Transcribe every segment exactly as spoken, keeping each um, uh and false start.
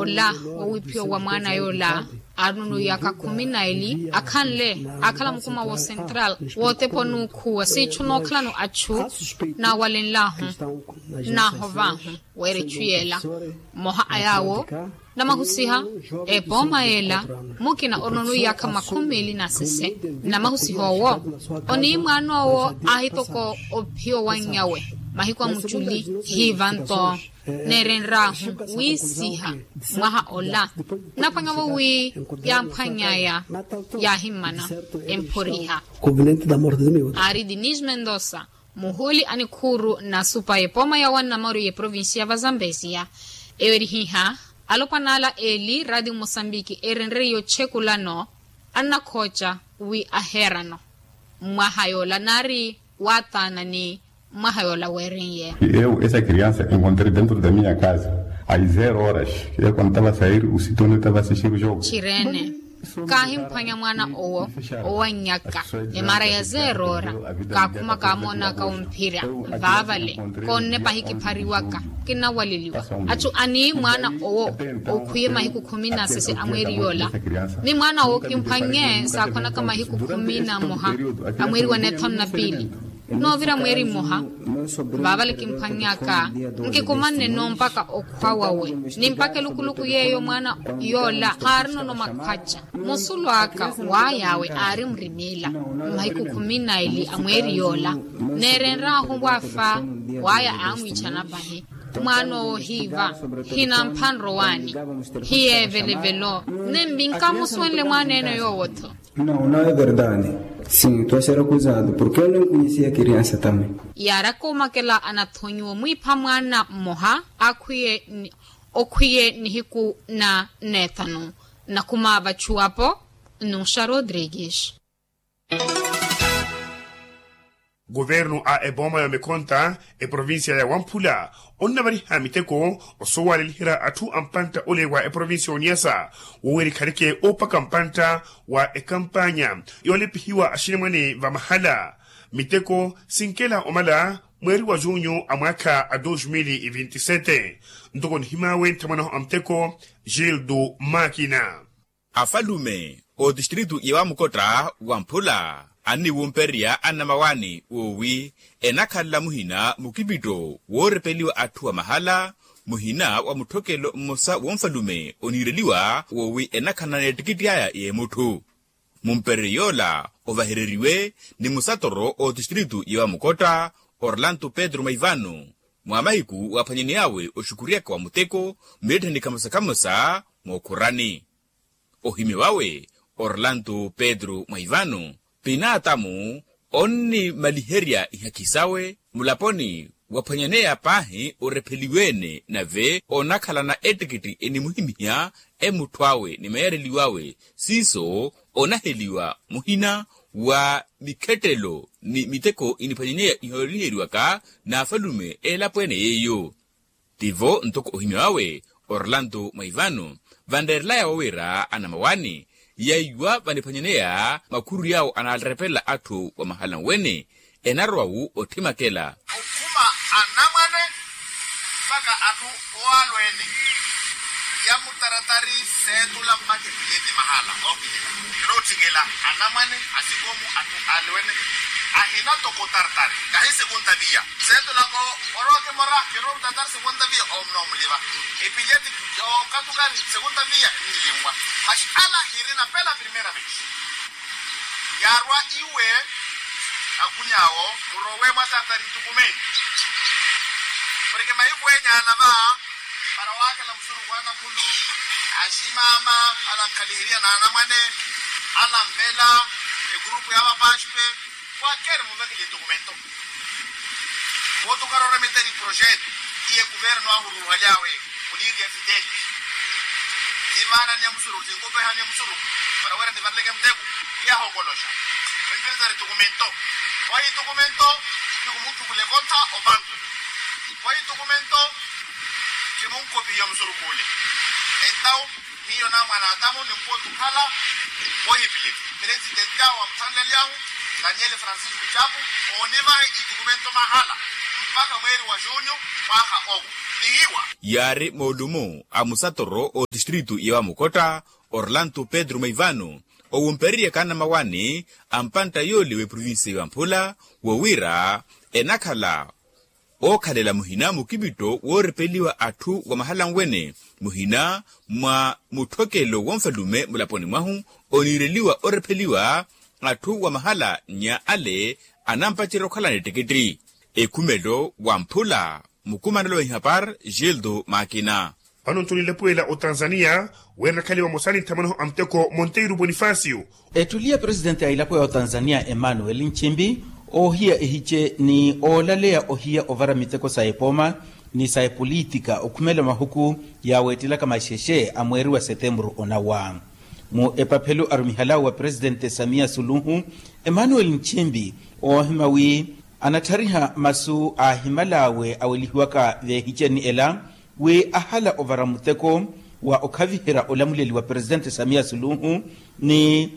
Ola wowiphiwa wa mwaana yoola aari onono iyaka khumi na eli akhanle akhala mukuma wo central wootepa onuukhuwa siitthu nookhalano atthu naawalenlahu naahovaahu weera etthu yeela. Mmoha a yaawo namahusiha epooma yeela mukina onono iyaka makhumi meeli nasese. Namahusiha owo oniimwaana owo aahitoko ophiwa wannyawe mahiku a muttuli hiivanto neerenraahu wiisiha mwaha ola naphwanyavo wi yaamphwany'aya yaahimmana emphoriha. Aari dinis mendosa muhuuli a nikhuuru nasupa epooma ya wannamaru y'eprovincia va zambezia. Eyo erihiha alopwana ala eli radio mosambiki erenreriye ochekulano annakhooca wi aheerano mwaha yoola naari waataana ni mwaha yoola weeriye. Eu esa criança encontrei dentro da minha casa às zero horas e contava sair o sitio onde estava assistir o jogo. Tchirene kaahimphwanya mwaana owo owannyaka emaara ya zero ora kaakhuma kaamoonaka womphira vaavale koonnepa hikiphariwaka kinawaleliwa. Atthu ani mwaana owo okhwiye mahiku khumi na sese a mweeri yoola ni mwaana owo kimphwannye saakhwanaka mahiku khumi na mmoha a mweeri wa neethanu na piili noovira mweeri mmoha vaavale kimphwannyaka nkikumanne-no mpakha okhwa wawe ni mpakha elukuluku yeeyo mwaana yoola khaarinono makhwaca. Musulu aka waay'awe aari murimiila mmahiku khumi na eli a mweeri yoola neerenraahu waafa waaya aamwiichana pahi. Mwaana owo hiiva hinampha nrowaani hiyeevelevelo. Nembi nkamusuwenle mwaana ene yoowo-tho. Não, não é verdade. Sim, estou a ser acusado porque eu não conhecia a criança também. Yaaraka omakela anathonyiwa omwiipha mwaana mmoha akhwiye okhwiye nihiku na neethanu. Nakhuma vachuwapo nnuxa rodrigues. Kuvernu a ebooma ya omekhonta eprovincia ya wamphula onnavariha miteko osowaleliherya atthu a mpantta ole wa eprovincia ya oniasa wowerikhaleke oopaka mpantta wa ekampanya yoolepihiwa axinimwane vamahala. Miteko sinkela omala mweeri wa junyu a mwaakha a dos mil e vinti sete. Ntoko nihimaawe nthamwanaho a muteko gildo makina. Afalume otistritu ya wamukotta wamphula anniwumpererya annamawaani woowi enakhalela muhina mukipitto woorepeliwa atthu a mahala muhina wa mutthokelo mmosa wonfalume oniireliwa woowi enakhalana n'ettikitti aya y'emutthu. Mumpereryo yoola ovahereriwe ni musatoro otistritu ya wamukotta orlanto pedro maivano mwa mahiku waaphwanyaney'awe oxukuryaka wa muteko mmilettheni khamosa-khamosa mookhurani. Ohimya wawe orlanto pedro mwaivano pinaatamu onnimaliherya ihakhi sawe mulaponi waphwanyaneya paahi orepheliwe-ene nave onakhalana ettikitti enimuhimiha emutthu awe ni mayareliw'awe siiso onaheliwa muhina wa mikhettelo ni miteko iniphwanyaneya iholiheriwaka n'afalume eelapo ene yeiyo. Tivo ntoko ohimya wawe orlanto mwaivano vanreerelaya wowira anamawaani yaiwa vaniphwanyaneya makhuru yawo anaarepelela atthu wa mahala nwene enarowa-wu otthimakela. Okhuma anamwane mpakha atthu owalweene ya mutaratari seetula mpakha epileti mahala ookilika. Kirootthikela anamwane asikomu atthu alweene ahina toko tartari kahi sekunta viya seetulaka orowa kimora kiroottatari sekunta viya omunoomuliva epileti yookatukani sekunta viya nnilinwa. Maxi ala hirina pela primera vez. Yaarwa iwe akuny'awo murowe mwasaatari tukume porke mahiku enya ala va para waakhela musurukhu anakhulu aximaama ala nkhaliheriya n'anamwane ala nvela egurupu ya vapaspe kwakeri muvekele tukumento. Votu karoremeteri projetu iye kuvernu ahururuhaly'awe muniiri ya fideli nivaana nyamusurukhu sinkupeha nyamusurukhu para wira nivareleke muteku. Yahokoloxa enviritari tukumento. Ohi tukumento ni kumuttukula ekontha opankwe. Ohi tukumento kimunkopihiya musurukhu ole. Entawu hiyo namwana atamu nimpotu khala wohipilili presidenti awo amuthanlelyahu daniel francisco chapu oonivahe itukumento mahala mpakha mweeri wa junyu mwaha owo. Yaari moolumu a musatoro otistritu ya wamukotta orlanto pedro maivano, owumpererye kannamawaani a mpantta yoole w'eprovincia ya wamphula, wowiira enakhala ookhalela muhina mukipitto woorepeliwa atthu wa mahala anwene, muhina mwa mutthokelo wonfalume mulaponi mwahu, oniireliwa orepheliwa atthu wa mahala nnya ale anampacerya okhalana ettikitti. Ekhumelo wamphula, mukumanelo wa ihapar gildo makina. Vano nto ninlepuwela otanzania, wira nakhale vamosa ni nthamwanahu a muteko monteiro bonifacio. Ettuli ya presidenti a elapo ya otanzania emmanuel nchimbi, oohiya ehice ni oolaleya ohiya ovara miteko sa epooma ni sa epolitika okhumela mahuku yaaweettelaka maxexe a mweeri wa setemburu onawa. Mu epaphelo arumihal'awe wa presidente samia suluhu, emmanuel nchimbi oohima wi anatthariha masu aahimal'awe awelihiwaka veehiceni ela, wi ahala ovara muteko wa okhaviherya olamuleli wa presidente samia suluhu, ni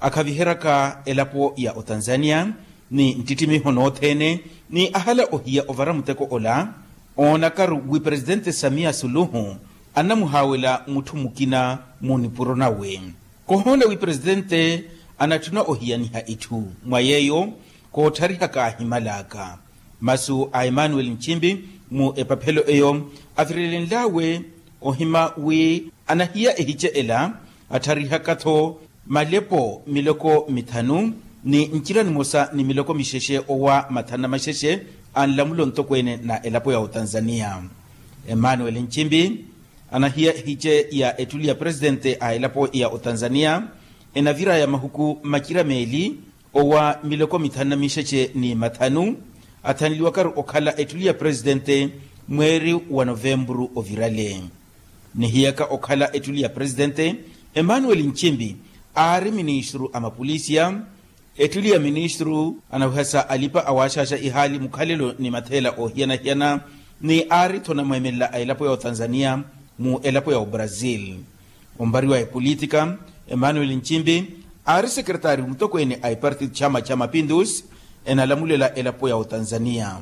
akhaviheryaka elapo ya otanzania ni nttittimiho nothene, ni ahala ohiya ovara muteko ola oonakaru wi presidente samia suluhu anamuhaawela mutthu mukina mu nipuro nawe. Kohoona wi presidente anatthuna ohiyaniha itthu mwa yeeyo kootthariha kaahimal'aka. Masu a emmanuel nchimbi mu epaphelo eyo avirelenl'awe ohima wi anahiya ehice ela atharihaka-tho malepo miloko mithanu ni ncira nimosa ni miloko mixexe owa mathanu na maxexe a nlamulo ntokweene na elapo ya otanzania. Emmanuel nchimbi anahiya ehice ya ettuli ya presidente a elapo ya otanzania enavir'aya mahuku macira meeli owa miloko mithanu na mixexe ni mathanu athanliwakaru okhala ettuli ya presidente mweeri wa novempuru ovirale. Nihiyaka okhala ettuli ya presidente emmanuel nchimbi aari ministru a mapolisiya. Ettuli ya ministru anawihasa alipa awaaxaaxa ihaali mukhalelo ni matheela oohiyana-hiyana ni aari-tho namweemelela a elapo ya otanzania mu elapo ya obrazil. Ompariwa epolitika emmanuel nchimbi aari sekeretari mutokweene a epartito chama cha mapindusi enalamulela elapo ya otanzania.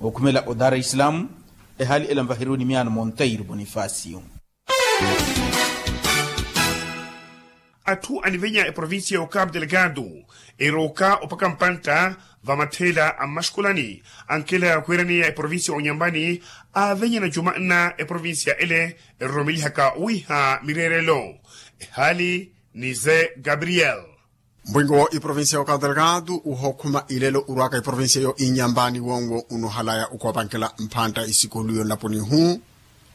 Okhumela o dar es salaam ehaali ela nvaheriwe ni miyaano monteiro bonifacio. Atthu anivenya eprovincia ya okapu delegado erooka opaka mpantta vamatheela a mmaxikolani ankela ya kwiiraneya eprovincia ya onyambani aavenyana juma nna eprovincia ele eroromelihaka owiiha mireerelo. Ehaali ni ze gabriel. Mpwinko wo iprovincia ya okapu delegado uhookhuma ilelo urwaka iprovincia yo inyambani wonwo unohalaya ukoopankela mphantta isikulu yonlaponi ihu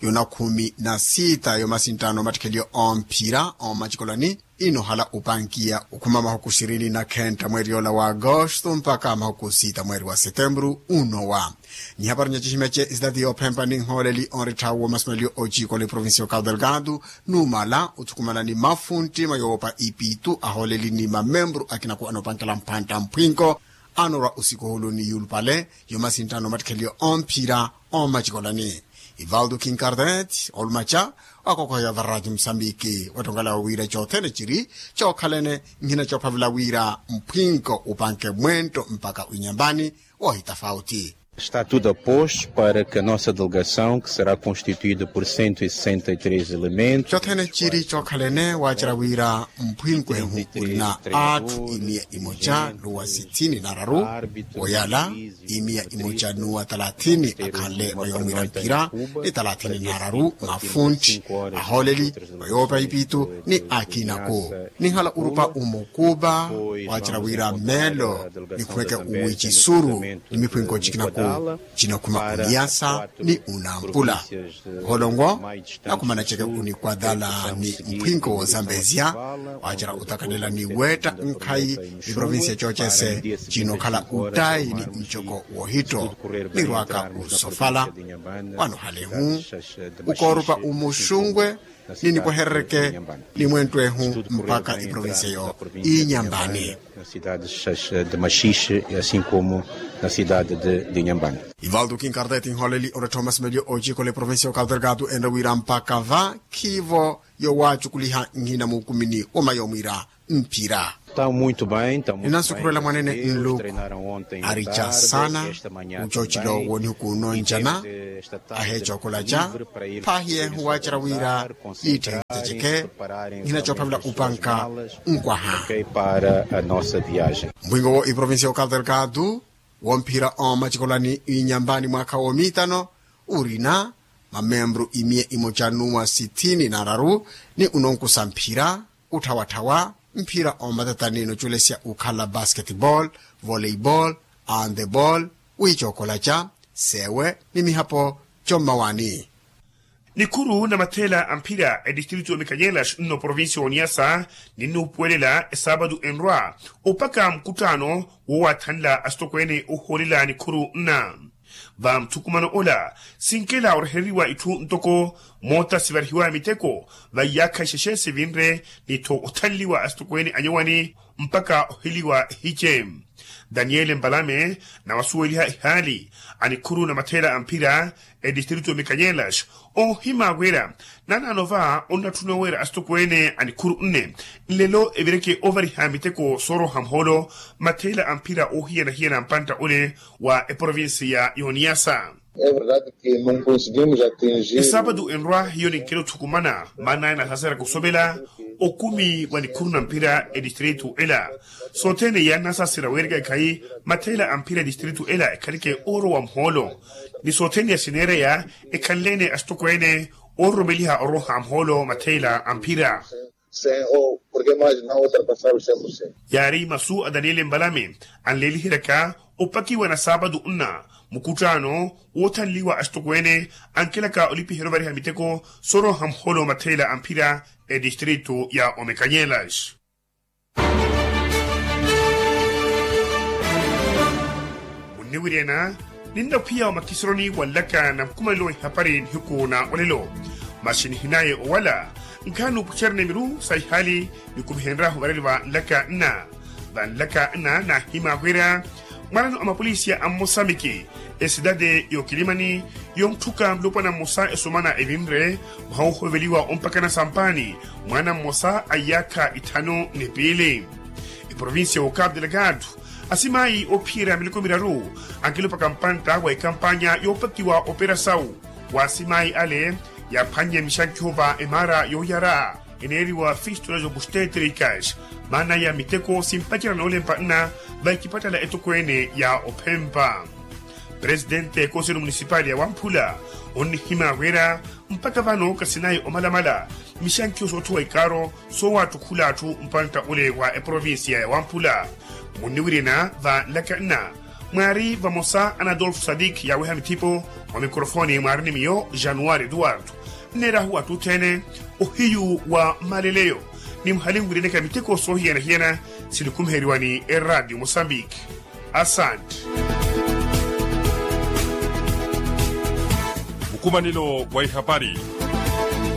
yona khumi na sita yomasinttano omattikheliyo omphira omacikolani. Inohala upankiya ukhuma mahuku sirini na khentta mweeri yoola wa agosto mpakha mahuku sita mweeri wa setempuru unowa. Nihapari nyacihimeche esitati yoophempa ni nhooleli onrittha wo masimeleliyo ocikola eprovincia ya okapu delegado numala othukumana ni mafuntti mwa yoopa ipitu ahooleli ni mamempuru akina ku anoopankela mphantta mphwinko anorwa osikuhulu ni yulupale yomasinttano omattikheliyo omphira omacikolani. Ivaldo kinkardet olumaca wakokoheya vararaci musambiki wattonkala wira cothene ciri cookhalene nhina coophavela wira mphwinko upanke mwentto mpaka winyambani wohitafauti. Está tudo a posto para que a nossa delegação que será constituída por cento e sessenta e três elementos. Cothene ciri cookhalene waacerya wira mphwinko ehu urina atthu imiya imoca nuwa sithini na araru woyala imiya imoca nuwa talathini akhanle wa yoomwiira mpira ni talathini na araru mafuntti ahooleli wa yoopa ipitu ni akinaku. Ninhala urupa umukupa waacerya wira meelo nikhumeke uwicisuru ni miphwinko cikinaku cinakhuma uniyasa ni unampula. Oholongo nakhumana ceke unikwadala ni mphwinko woozambezya waacerya otakanela ni weetta nkhayi. Iprovincia coocese cinokhala uttayi ni ncoko woohitto nirwaka usofala wanohalehu ukoorupa umuxungwe ni nipweherereke ni mwenttu ehu mpakha iprovincia yo inyambani. Na cidade de maxixe e asin komu na cidade de nyambani. Ivaldo kinkardeti nholeli onrettha omasimeliyo ocikola eprovincia okapu delgado enre wira mpakha va khivo yowaacukuliha nhina muukumini woma yomwira mphira. Ninansukhurela mwanene nluku, arica saana ucoocelo wonihuku noncana, aheecookolaca paahiye huwaacerya wira iitthe iteceke. Nihina coophavela upanka nkwaha. Mpwingo wo iprovincia ya okadelgado womphira omacikolani inyambani mwaakha woomiitano, urina mamembru imiya imoca nuwa sithini na araru, ni unonkusa mphira, utthawatthawa mphira omatatani noculesya ukhala basketball, volleyball, handball, wiicookolaca, seewe ni mihapo. Commawani. Nikhuru na matheela a mphira etistritu ya omikanyelas nno provincia ya oniasa, ninnuupuwelela esaapatu enrwa opaka mukuttaano woowaathanla asitokweene ohoolela nikhuru nna. Va muthukumano ola, sinkela orehereriwa itthu ntoko moota sivarihiwaya miteko, va iyaakha ixexe sivinre, ni-tho othanliwa asitokweene anyowani mpakha oheliwa ehice. Daniele mpalame, nawasuweliha ehaali a nikhuru na matheela a mphira etistritu ya omikanyelas, oohimaakwera naanaano va onnatthuna oweera asitokweene a nikhuru nne nlelo evireke ovariha miteko sooroha muhoolo matheela a mphira oohiyana-hiyana mpantta ole wa eprovincia ya oniasa. Esaapatu enrwa hiyo ninkela othukumana maana aya nasaserya kusovela okumi wa nikhuru na mphira etistritu ela. Sothene iyaanasaserya weereka ekhayi matheela a mphira etistritu ela ekhaleke oorowa muhoolo, ni sothene yasineereya ekhanle-ene asitokweene oororomeliha orooha muhoolo matheela a mphira. Yaari masu a daniele mbalame anleeliheryaka opakiwa na saapatu nna mukuttaano woothanliwa asitokweene ankelaka olipiherya ovariha miteko soorooha muhoolo matheela a mphira etistritu ya omekanyelas. Munniwiryana, ninnakhwiya omakiseroni wanlaka na mukumanelo wa ihapari nihiku na olelo. Masi nihinaye owala nkhaani nuupucerene miru sa ihaali nikumihenryahu vareli va nlaka nna. Va nlaka nna naahimaakwera mwanano a mapolisiya a mmosambiki, esidade y'okilimani, yontthuka mulopwana mmosa esumana evinre mwaha woohoveliwa ompakana sampaani mwaana mmosa a iyaakha itthanu ni piili. Eprovincia ya okapu delgado, asimayi oophiyerya miloko miraru ankilopaka mpantta wa ekampanya yoopakiwa operasau. Wa asimayi ale yaaphwannye mixankiho va emaara yooyara eneeriwa fistola zobustetricas, maana ya miteko simpacerya noolempa nna va ecipattala etokweene ya ophempa. Presidente ya ekonselo munisipali ya wamphula onnihimaakwera mpakha vano kasinayi omalamala mixankiho soothuwa ikaaro soowaattukhula atthu mpantta ole wa eprovincia ya wamphula. Munniwiryana va nlaka nna mwaari vamosa anadolfo sadik yaaweha mithipo. Mwa mikrofoni mwaari ni miyo januari eduardo. Nneerahu atthu othene ohiyu wa mmaleleyo ni muhalinwiryaneke miteko soohiyana-hiyana. Sinikumiheriwa ni eradio mosambiki. Asante. Mukumanelo wa ihapari.